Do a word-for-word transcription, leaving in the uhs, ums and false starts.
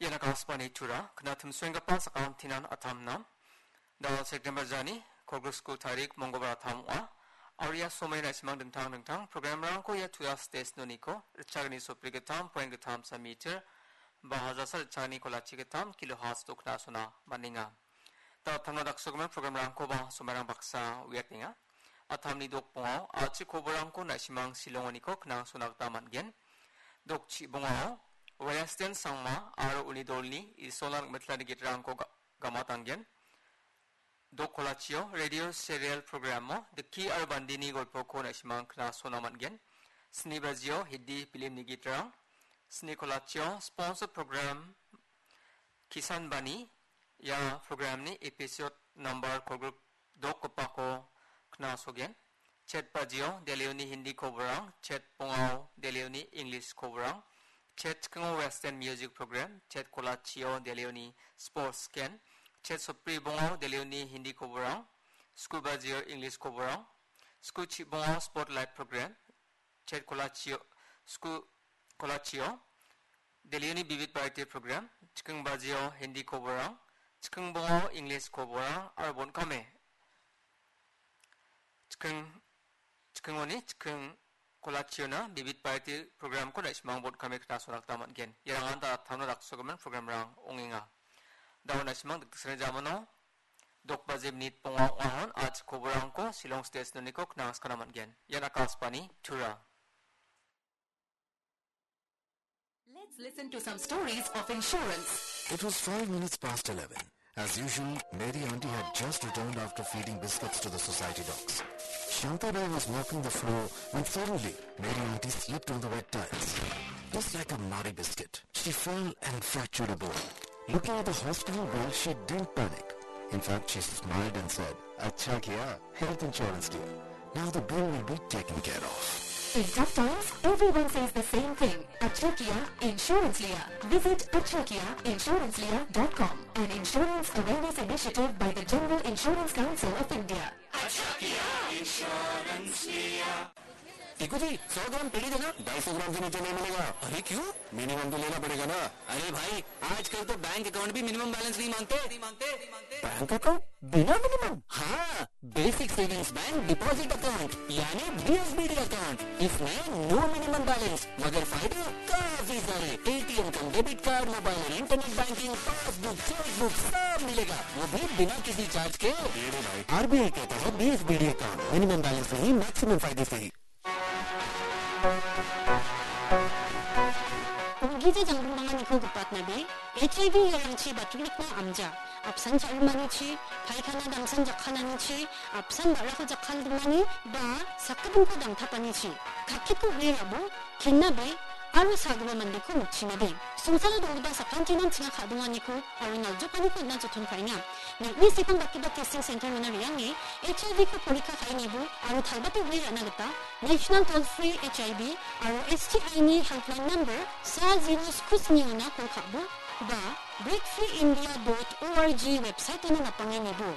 Ian Akashvani Tura, kna timsoenggipa sakantinan atamna. Dal September jani, kolgrik sku tarik, Mongolbar atam ong·a. Aria somoi na·simang dingtang dingtang programrangko ia Tura station-oniko, ritchagni sopri gittam, point gittam sa meter, ba hajasa ritchagni kolachi gittam, kilohertz dokna sona maninga. Da tamna daksogimin programrangkoba somairang baksa uiatenga. Atamni dokbongao, a·chik koborangko na·simang silongoniko knang sona gita man·gen. Dokchibongao, Western Sangma aro uni dolni Isolna nikmitlani gitrangko ga-, gamatanggen. Dok kolachio, radio serial programo, Diki aro Bandini golpoko na·simang knasona man·gen. Sni bajio, Hindi filmni gitrang. Sni kolachio, sponsor program, Kisan Bani, ia programni episode number kolgrik dokgipako knasogen. Chet bajio, Delhioni Hindi koborang, chet bongao, Delhioni English koborang, chet chikingo Western music program, chet kolachio, Delhioni sports scan, chet sopri bongao, Delhioni Hindi koborang, sku bajio, English koborang, sku chibongao, sport live program, chet kolachio, sku kolachio, Delhioni Vividh Bharati program, chiking bajio, Hindi koborang, chiking bongao, English koborang, aro bon·kame. Chiking, chikingoni, chiking kolachiona, Vividh Bharati programko na·simang bon·kame knasona gita man·gen. Iarangan da tamna daksogimin programrang ong·enga. Da·o na·simang dikdiksenni jamano, dok baje minit bonga ong·ahon, a·chik koborangko, Shillong station-oniko knang skana man·gen. Ian Akashvani, Tura. Let's listen to some stories of insurance. It was five minutes past eleven. As usual, Mary Auntie had just returned after feeding biscuits to the society dogs. Shanta Bai was mopping the floor when suddenly Mary Auntie slipped on the wet tiles. Just like a Marie biscuit, she fell and fractured a bone. Looking at the hospital bill, she didn't panic. In fact, she smiled and said, "Acha kiya, health insurance liya. Now the bill will be taken care of." In tough times, everyone says the same thing. Acha kiya, insurance liya. Visit acha kiya insurance liya dot com, an insurance awareness initiative by the General Insurance Council of India. देखो जी, सौ ग्राम पेड़ी देना, ढाई सौ ग्राम से नीचे नहीं मिलेगा। अरे क्यों? मिनिमम तो लेना पड़ेगा ना। अरे भाई, आजकल तो बैंक अकाउंट भी मिनिमम बैलेंस नहीं मांगते। बैंक अकाउंट बिना मिनिमम? हाँ, basic savings bank deposit account, यानी बीएसबीडी अकाउंट। इसमें नो मिनिमम बैलेंस, मगर फायदे काफी सारे। एटीएम कम डेबिट कार्ड, मोबाइल और इंटरनेट बैंकिंग, पासबुक, चेकबुक, सब मिलेगा, वो भी बिना किसी चार्ज के। आरबीआई कहता है, बीएसबीडी अकाउंट, मिनिमम बैलेंस नहीं, मैक्सिमम फायदे सही। Ong·gija janggilmanganiko gipatnabe, H I V iarangchi batrikna amja, apsan cha·rimanichi, paikana damsan jakkalanichi, apsan ba·rako jakkalgimani, ba sakgipinko dangtapanichi, kakkitko uiarabo, kennabe, aro sagipa mandeko nokchinabe. Songsalo donggipa sakantinan chinga ka·donganiko aro naljokaniko on·na joton ka·enga. Nang·ni sepangbakgipa testing center-ona re·ange H I V-ko porikka ka·anibo aro talbate uiarana gita National Toll Free H I V aro S T I-ni helpline number sa zero sku sni-ona kol ka·bo ba break free india dot org website-ona napange nibo.